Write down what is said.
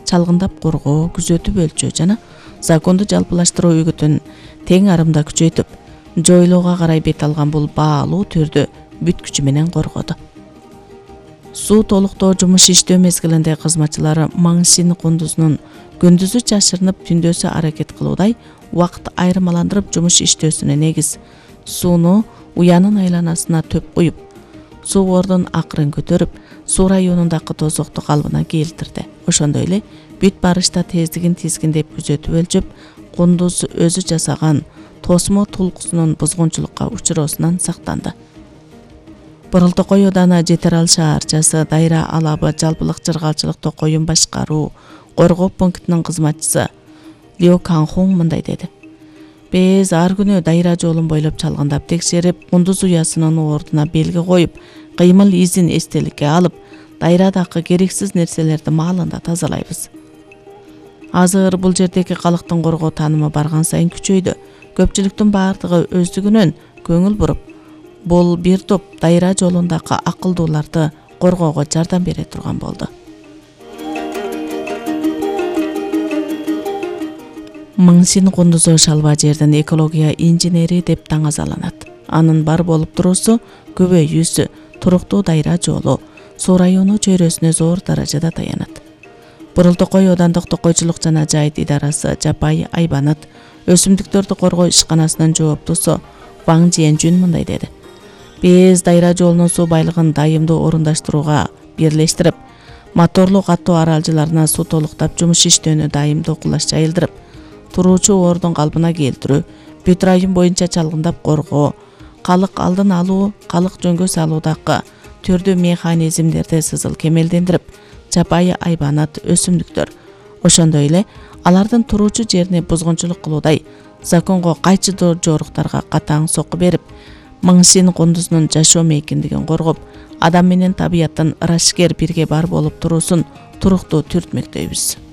чалгындап коргоо, күзөтүп өлчөө жана законду жалпылаштыруу үгүтүн тең арымда күчөйтүп, жойлоого карай бет алган бул баалуу түрдү бүт күчү менен коргоду. Суу толуктоо жумуш иштөө мезгилинде кызматчылары Маң Син кундузунун күндүзү жашырынып, түндөсү аракет кылуудай убакыт айырмаландырып жумуш иштөөсүнө негиз сууну уянын айланасына төп куюп, суу бордун акырын көтөрүп, суу районундагы тозокту калыбына келтирди. Ошондой эле бүт барышта тездигин тизгиндеп күзөтүп өлчөп, кундуз өзү жасаган тосмо тулкусунун бузгунчулукка учуроосунан сактанды. Бурултокой ауданы Жетерал шаарчасы Дайра алабы жалпылык жыргалчылыкты коюм башкаруу коргоо пунктунун кызматчысы Лио Канхун мындай деди. Биз ар күнү Дайра жолун бойлоп чалгындап текшерип, кундуз уясынын ордуна белги коюп, кыймыл изин эстеликке алып, дайрадагы керексиз нерселерди маалында тазалайбыз. Азыр бул жердеги калктын коргоо таанымы барган сайын күчөйдү. Көпчүлүктүн баардыгы өздүгүнөн көңүл буруп, бул бир топ Дайра жолундагы акылдууларды коргоого жардам бере турган болду. Маң Син кундузу шалба жердин экология инженери деп таңазаланат. Анын бар болуп туруусу көбөйүүсү, туруктуу Дайра жолу суу району чөйрөсүнө зор даражада таянат. Бурултокой аудандык токойчулук жана жайыт идарасы Жапай Айбанат өсүмдүктөрдү коргоо ишканасынын жооптусу Ваң Жиэнжүн мындай деди. Биз Дайра жолунун суу байлыгын дайымдуу орундаштырууга бирлештирип, моторлуу катуу аралжыларына суу толуктап жумуш иштөөнү дайымдуу кулаш жайылдырып, туруучу ордун калыбына келтирүү, бүт район боюнча чалгындап коргоо, калык алдын алуу, калык жөнгө салуудагы түрдүү механизмдерди сызыл кемелдендирип, Жапай Айбанат өсүмдүктөр, ошондой эле алардын туруучу жерине бузгунчулук кылуудай законго кайчы жоруктарга катаң сокку берип, Маң Син кундузунун жашоо мейкиндигин коргоп, адам менен табияттын ырашкер бирге бар болуп туруусун туруктуу түртмөктөйбүз.